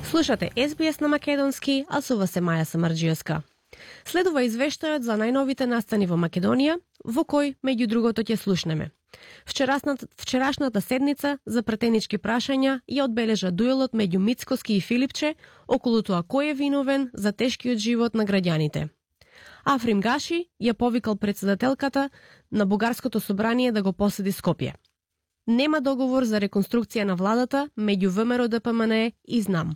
Слушате SBS на македонски, а со вас е Маја Самарџиевска. Следува извештајот за најновите настани во Македонија, во кој, меѓу другото, ќе слушнеме. Вчерашната седница за пратенички прашања ја одбележа дуелот меѓу Мицкоски и Филипче околу тоа кој е виновен за тешкиот живот на граѓаните. Африм Гаши ја повикал председателката на Бугарското собрание да го посети Скопје. Нема договор за реконструкција на владата меѓу ВМРО ДПМН и ЗНАМ.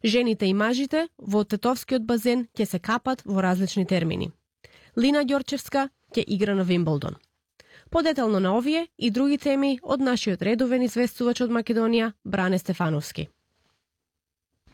Жените и мажите во тетовскиот базен ќе се капат во различни термини. Лина Ѓорчевска ќе игра на Вимблдон. Подетално на овие и други теми од нашиот редовен известувач од Македонија, Бране Стефановски.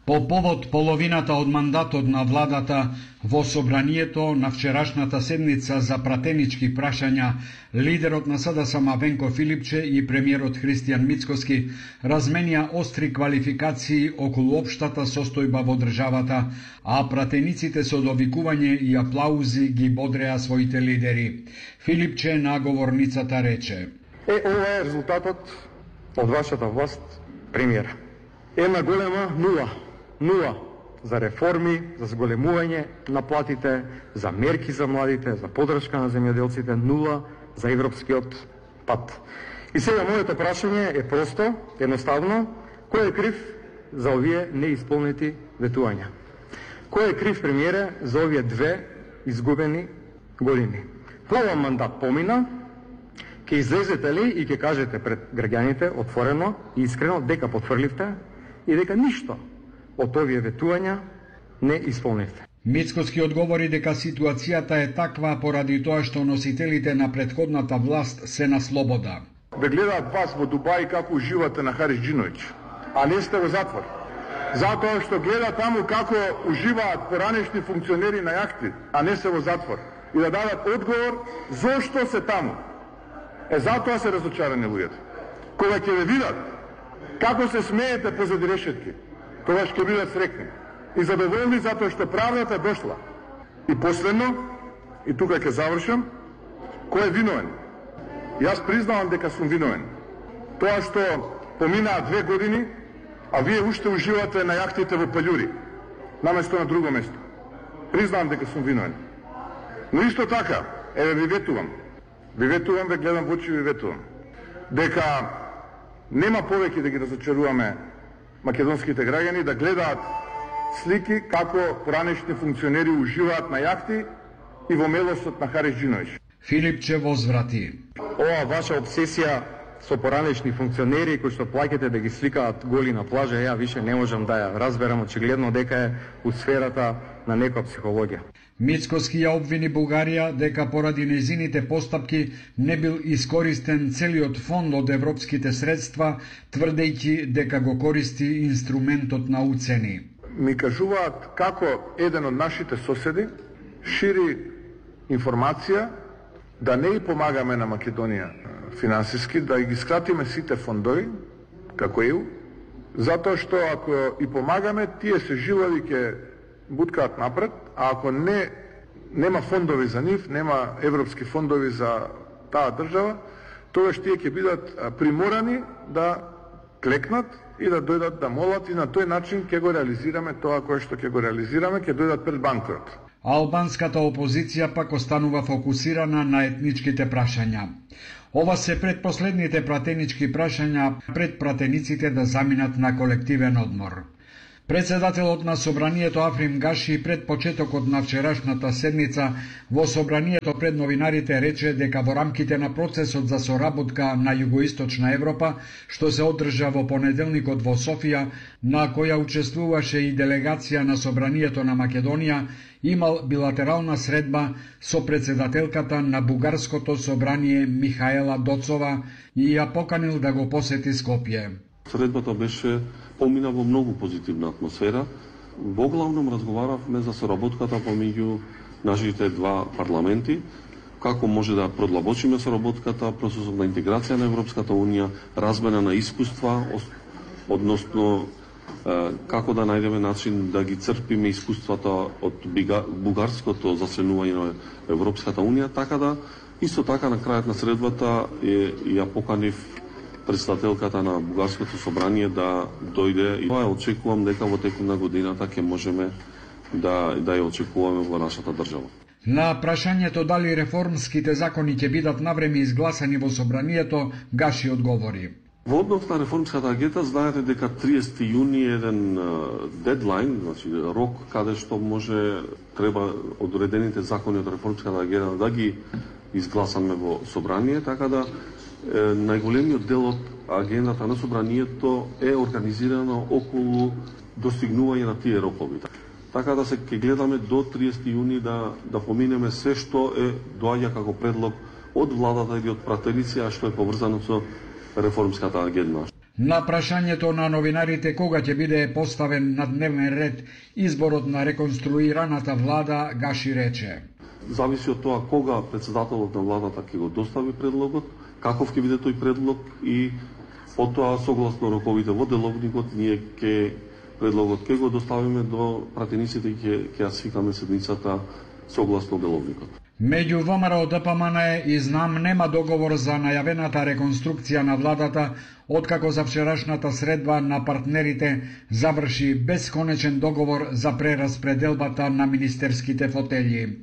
По повод половината од мандатот на владата во собранието на вчерашната седница за пратенички прашања, лидерот на СДСМ Венко Филипче и премиерот Христијан Мицкоски разменија остри квалификации околу општата состојба во државата, а пратениците со довикување и аплаузи ги бодреа своите лидери. Филипче на говорницата рече: ова е резултатот од вашата власт, премиер. Една голема нула за реформи, за зголемување на платите, за мерки за младите, за поддршка на земјоделците, нула за европскиот пат. И сега моето прашање е просто, едноставно, кој е крив за овие неисполнети ветувања? Кој е крив, премиере, за овие 2 изгубени години? Пола мандат помина, ќе излезете ли и ќе кажете пред граѓаните отворено и искрено дека потврливте и дека ништо од овие ветувања не исполнивте. Мицкоски одговори дека ситуацијата е таква поради тоа што носителите на претходната власт се на слобода. Ве гледаат вас во Дубај како уживате на Хариџиновиќ, а не сте во затвор. Затоа што гледаат таму како уживаат поранешни функционери на јахти, а не се во затвор. И да дадат одговор зошто се таму. Затоа се разочарани луѓето. Кога ќе ве видат како се смеете позади решетки, тогаш ќе бидат среќни и задоволни затоа што правдата дошла. И последно, и тука ќе завршам, кој е виновен? Јас признавам дека сум виновен. Тоа што поминаа 2 години, а вие уште уживате на јахтите во Паљури, наместо на друго место. Признавам дека сум виновен. Но исто така, ви ветувам, ве гледам во очи, ви ветувам, дека нема повеќе да ги разочаруваме македонските граѓани, да гледаат слики како поранешни функционери уживаат на јахти и во мелосот на Хариџиновиќ. Филипче возврати: ова ваша обсесија со поранешни функционери кои што плаќате да ги сликаат голи на плажа, ја више не можам да ја разберам, очигледно дека е у сферата на некоја психологија. Мицкоски ја обвини Бугарија дека поради нејзините постапки не бил искористен целиот фонд од европските средства, тврдејќи дека го користи инструментот на уцени. Ми кажуваат како еден од нашите соседи шири информација да не и помагаме на Македонија финансиски, да ги скратиме сите фондови, како ЕУ, затоа што ако и помагаме, тие се жилави ќе буткаат напред, а ако нема фондови за нив, нема европски фондови за таа држава, тогаш тие ќе бидат приморани да клекнат и да дојдат да молат, и на тој начин ќе го реализираме тоа кое што ќе го реализираме, ќе дојдат пред банкрот. Албанската опозиција пак останува фокусирана на етничките прашања. Ова се предпоследните пратенички прашања пред пратениците да заминат на колективен одмор. Председателот на собранието Африм Гаши пред почетокот на вчерашната седница во собранието пред новинарите рече дека во рамките на процесот за соработка на Југоисточна Европа, што се одржа во понеделникот во Софија, на која учествуваше и делегација на собранието на Македонија, имал билатерална средба со председателката на Бугарското собрание Михаела Доцова и ја поканил да го посети Скопје. Средбата беше помина во многу позитивна атмосфера. Во главном разговаравме за соработката помеѓу нашите 2 парламенти, како може да продлабочиме соработката, процесот на интеграција на Европската Унија, размена на искуства, односно како да најдеме начин да ги црпиме искуствата од бугарското заселување на Европската Унија, така да исто така на крајот на средбата ја поканив председателката на Бугарското собрание да дојде и тоа очекувам дека во текот на годината ќе можеме да ја очекуваме во нашата држава. На прашањето дали реформските закони ќе бидат навреме изгласани во собранието, Гаши одговори. Во однос на реформската агенда, знаете дека 30 јуни е еден дедлайн, значи рок каде што треба одредените закони од реформската агенда да ги изгласаме во собрание, така да најголемиот дел од агендата на собранието е организирано околу достигнување на тие рокови. Така да се ќе гледаме до 30 јуни да поминеме се што доаѓа како предлог од владата или од пратеници, а што е поврзано со реформската агенда. На прашањето на новинарите кога ќе биде поставен на дневен ред изборот на реконструираната влада, Гаши рече: Зависи од тоа кога председателот на владата ќе го достави предлогот, каков ќе биде тој предлог и потоа согласно роковите во деловникот ние предлогот ќе го доставиме до пратениците и ќе ја свикаме седницата согласно деловникот. Меѓу ВМРО ДПМН и ЗНАМ нема договор за најавената реконструкција на владата, откако за вчерашната средба на партнерите заврши бесконечен договор за прераспределбата на министерските фотели.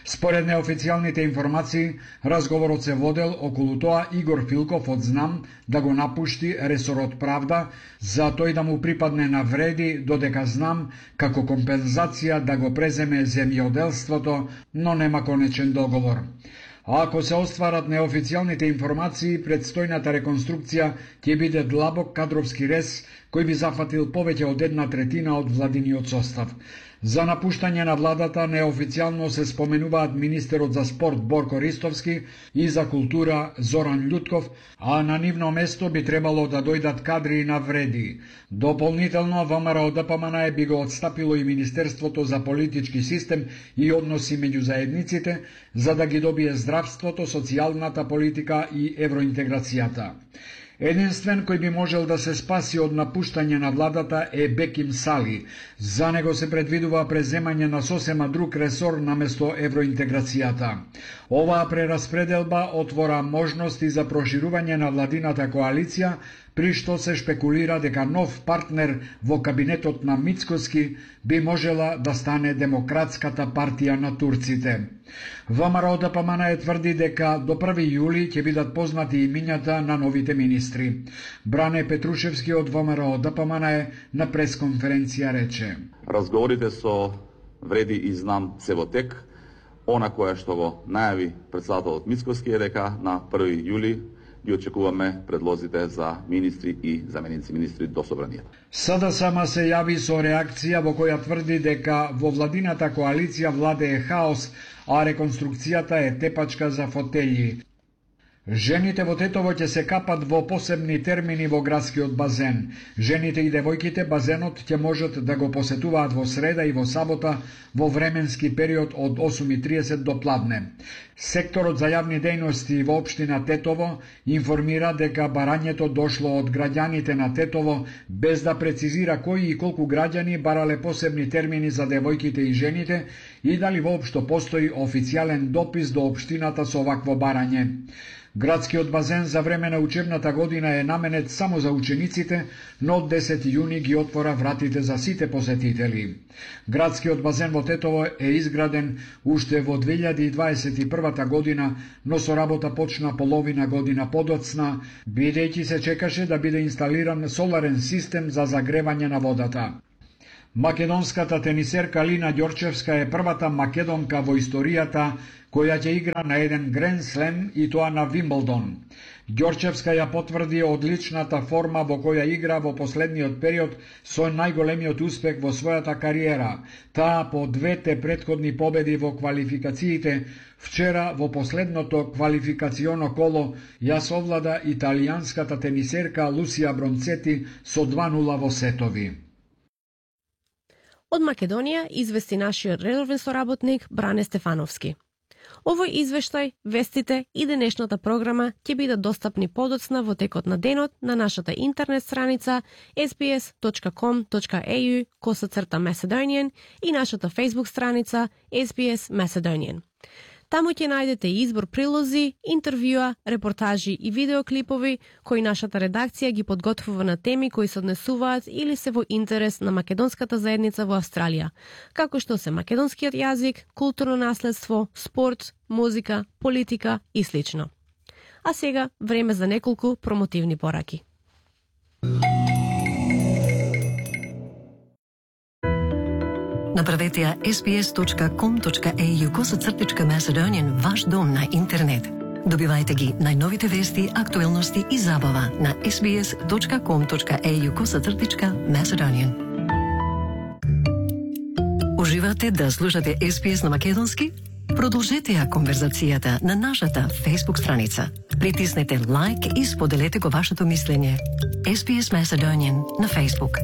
Според неофицијалните информации, разговорот се водел околу тоа Игор Филков од ЗНАМ да го напушти ресорот правда, за тој да му припадне на вреди, додека ЗНАМ како компензација да го преземе земјоделството, но нема конечен договор. А ако се остварат неофицијалните информации, предстојната реконструкција ќе биде длабок кадровски рез кој би зафатил повеќе од 1/3 од владиниот состав. За напуштање на владата неофицијално се споменуваат министерот за спорт Борко Ристовски и за култура Зоран Љутков, а на нивно место би требало да дојдат кадри на вреди. Дополнително, ВМРО ДПМН би го отстапило и Министерството за политички систем и односи меѓу заедниците, за да ги добие здравството, социјалната политика и евроинтеграцијата. Единствен кој би можел да се спаси од напуштање на владата е Беким Сали. За него се предвидува преземање на сосема друг ресор наместо евроинтеграцијата. Оваа прераспределба отвора можности за проширување на владината коалиција, при што се шпекулира дека нов партнер во кабинетот на Мицкоски би можела да стане Демократската партија на турците. ВМРО ДПМН тврди дека до 1 јули ќе бидат познати имињата на новите министри. Бране Петрушевски од ВМРО ДПМН на пресконференција рече: Разговорите со Вреди и ЗНАМ се во тек. Она која што го најави председателот Мицкоски е дека на 1 јули ги очекуваме предлозите за министри и заменици министри до собранието. СДСМ се јави со реакција во која тврди дека во владината коалиција владее хаос, а реконструкцијата е тепачка за фотели. Жените во Тетово ќе се капат во посебни термини во градскиот базен. Жените и девојките базенот ќе можат да го посетуваат во среда и во сабота во временски период од 8:30 до пладне. Секторот за јавни дејности во општина Тетово информира дека барањето дошло од граѓаните на Тетово, без да прецизира кои и колку граѓани барале посебни термини за девојките и жените и дали воопшто постои официјален допис до општината со овакво барање. Градскиот базен за време на учебната година е наменет само за учениците, но од 10 јуни ги отвора вратите за сите посетители. Градскиот базен во Тетово е изграден уште во 2021 година, но со работа почна половина година подоцна, бидејќи се чекаше да биде инсталиран соларен систем за загревање на водата. Македонската тенисерка Лина Ѓорчевска е првата македонка во историјата која ќе игра на еден Гранд Слем и тоа на Вимблдон. Ѓорчевска ја потврди одличната форма во која игра во последниот период со најголемиот успех во својата кариера. Таа по двете претходни победи во квалификациите вчера во последното квалификационо коло ја совлада италијанската тенисерка Лусија Бронцети со 2:0 во сетови. Од Македонија извести нашиот редовен соработник Бране Стефановски. Овој извештај, вестите и денешната програма ќе бидат достапни подоцна во текот на денот на нашата интернет страница sbs.com.au/Macedonian и нашата Facebook страница SBS Macedonian. Таму ќе најдете избор прилози, интервјуа, репортажи и видеоклипови кои нашата редакција ги подготвува на теми кои се однесуваат или се во интерес на македонската заедница во Австралија, како што се македонскиот јазик, културно наследство, спорт, музика, политика и слично. А сега време за неколку промотивни пораки. Направете ја sbs.com.au/Macedonian ваш дом на интернет. Добивајте ги најновите вести, актуелности и забава на sbs.com.au/Macedonian. Уживате да слушате SBS на македонски? Продолжете ја конверзацијата на нашата Facebook страница. Притиснете лайк и споделете го вашето мислење. SBS Macedonian на Facebook.